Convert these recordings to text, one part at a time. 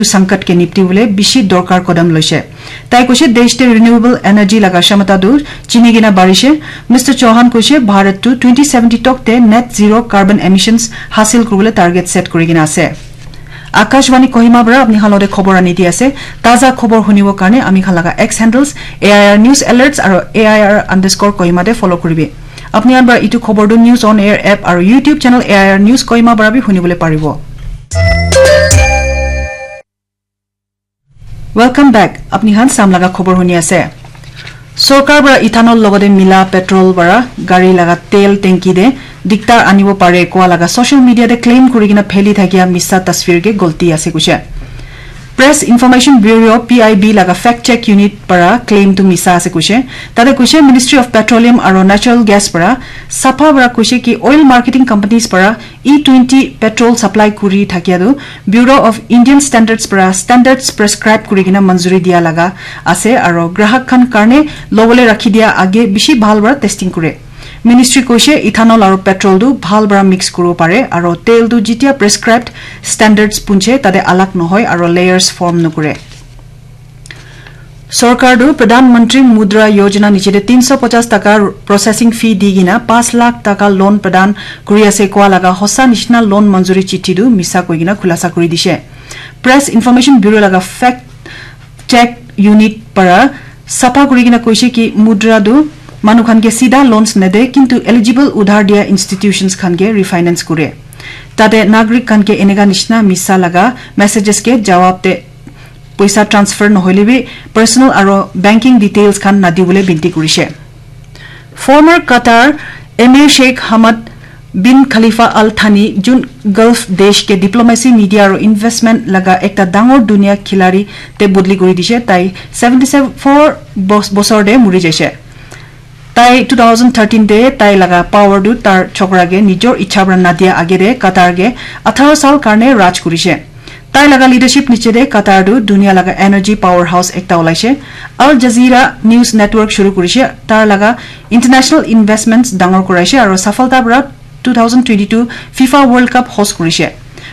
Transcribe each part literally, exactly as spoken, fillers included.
sankat ke nipti bole bishi dorkar kodam loise. Tai koise desh te renewable energy laga shamata tu chini kena barishe. Mister Chauhan koise Bharat tu twenty seventy tok te net zero carbon emissions hasil kuribole target set kuri kena ase. Akashvani Kohima para apni khan lote khobor ani di ase. Taza khobor hunibo karne ami khan laga X handles A I R news alerts aro A I R underscore Kohima te follow kuribi. Apni khan para itu khobor tu News on Air app aro YouTube channel A I R News Kohima para bi hunibole paribo. Welcome back. Apni khan sam laga khobor huni ase. Sorkar para ethanol logode mila petrol para gari laga tel tanki de diktar anibo pare koa laga social media de claim kuri kena pheli thakia misa tasvir ke golti ase kuishe. Press Information Bureau, P I B, laga fact check unit para claim tu misa ase kuishe. Tate kuishe Ministry of Petroleum aro Natural Gas para sapha para kuishe ki oil marketing companies para E twenty petrol supply kuri thakia tu Bureau of Indian Standards para standards prescribe kuri kena manjuri dia laga ase aro grahak khan karne lobole rakhi dia age bishi bhal para testing kure. Ministry koise ethanol aro petrol tu bhal para mix kuribo pare aro tel tu jitia prescribed standards punche tate alag nohoi aro layers form nokure. Sorkar tu Pradhan Mantri Mudra Yojana niche te tinso pachas taka processing fee di kena panch lakh taka loan pradhan kuri ase koa laga hosa nishina loan manjuri chithi tu misa koi kena khulasa kuri dishe. Press Information Bureau laga fact check unit para sapha kuri kena koise ki Mudra tu manu khan ke sida loans nede kintu eligible udhar dia institutions khan ke refinance kure. Tate nagrik khan ke eneka nishina misa laga messages ke jawab te poisa transfer nohoile bi personal aro banking details khan nadibole binti kurishe. Former Qatar Emir Sheikh Hamad bin Khalifa Al Thani jun Gulf desh ke diplomacy, media aro investment laga ekta dangor dunia khilari te bodli kuri dishe. Tai seventy four bos- bosor de muri jaishe. Tai two thousand thirteen te tai laga power tu tar chokra ke nijor ichha para nadia age de Qatar ke atharo sal karne raj kurishe. Tai laga leadership niche de Qatar tu dunia laga energy powerhouse ekta ulaishe. Al Jazeera News Network shuru kurishe. Tar laga international investments dangor kuraishe aro safalta para two thousand twenty-two FIFA World Cup host kurishe.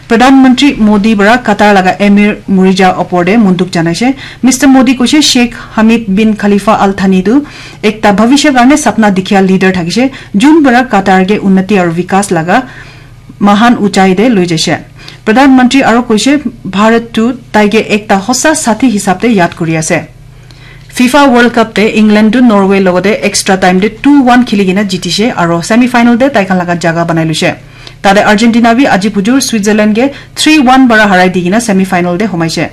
Pradhan Mantri Modi para Qatar laga Emir Murija opor de munduk janaishe. Mister Modi koishe Sheikh Hamid bin Khalifa Al Thani tu ekta bhavishya karne sapna dikhia leader thakishe, jun para Qatar ke unnati aru vikas laga mahan uchai de loi jaishe. Pradhan Mantri aru koishe Bharat tu taike ekta hosa sathi hisab de yad kuri ase. FIFA World Cup te England tu Norway logode extra time te two one khili kena jitishe aro semi final te tai khan laga jaga banai luishe. Tate Argentina bi aji pujur Switzerland ke three one para harai di kena semi final te humaishe.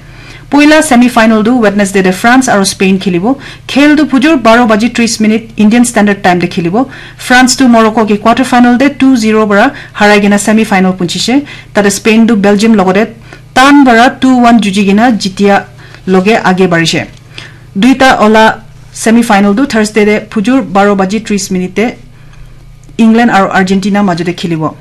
Poila semi final tu Wednesday te France aro Spain khilibo. Khel tu pujur baro baji tris minute Indian Standard Time te khilibo. France tu Morocco ke quarter final te two zero para harai kena semi final punchishe. Tate Spain tu Belgium logode tan para two one juji kena jitia loge age barishe. Duita ola semi final tu Thursday te pujur baro baji tris minute te England aro Argentina majo de khilibo.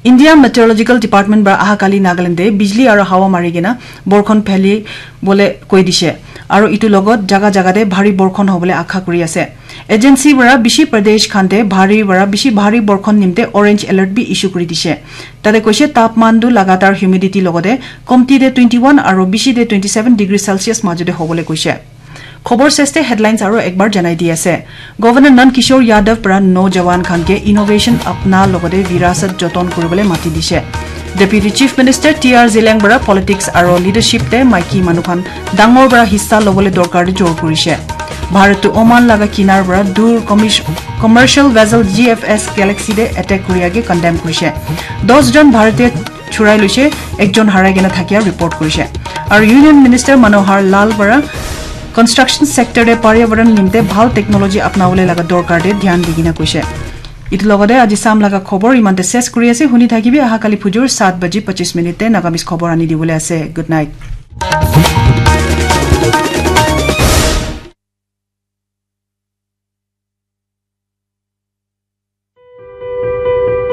India Meteorological Department para aha kali Nagaland de bijli aro hawa mari kena borkhon pheli bole koi dishe. Aro itu logot jaga jaga de bhari borkhon hobole akha kuri ase. Agency para bishi pradesh khan te bhari para bishi bhari borkhon nimte orange alert bi issue kuri dishe. Tate koishe tapman tu lagatar humidity logode komti de twenty one aro bishi de twenty seven degree Celsius majo de hobole koishe. Khobor seste headlines aro ekbar janai di ase. Governor Nand Kishore Yadav para nojawan khan ke innovation apna logode virasat joton kuribole mati dishe. Deputy Chief Minister T R Zeliang para politics aro leadership te maiki manu khan dangor para hissa lobole dorkar de jor kurishe. Bharat tu Oman laga kinar para dur commis- commercial vessel G F S Galaxy de attack kuriya ke condemn kurishe. Dos jon Bharatiya churai luishe, ekjon harai kena thakia report kurishe. Aru Union Minister Manohar Lal para construction sector te Paryabaran nimte bhal technology apnabole laga dorkar te dhyan di kena koishe. Itu logode aji sam laga khobor imante ses kuri ase, huni thakibi aha kali phujur saat baji pachis minute te Nagamese khobor ani dibole ase. Good night.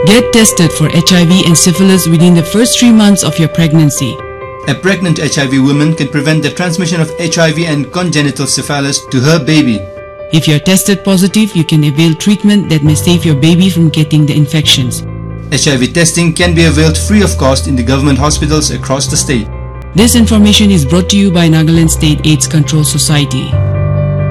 Get tested for H I V and syphilis within the first three months of your pregnancy. A pregnant H I V woman can prevent the transmission of H I V and congenital syphilis to her baby. If you're tested positive, you can avail treatment that may save your baby from getting the infections. H I V testing can be availed free of cost in the government hospitals across the state. This information is brought to you by Nagaland State AIDS Control Society.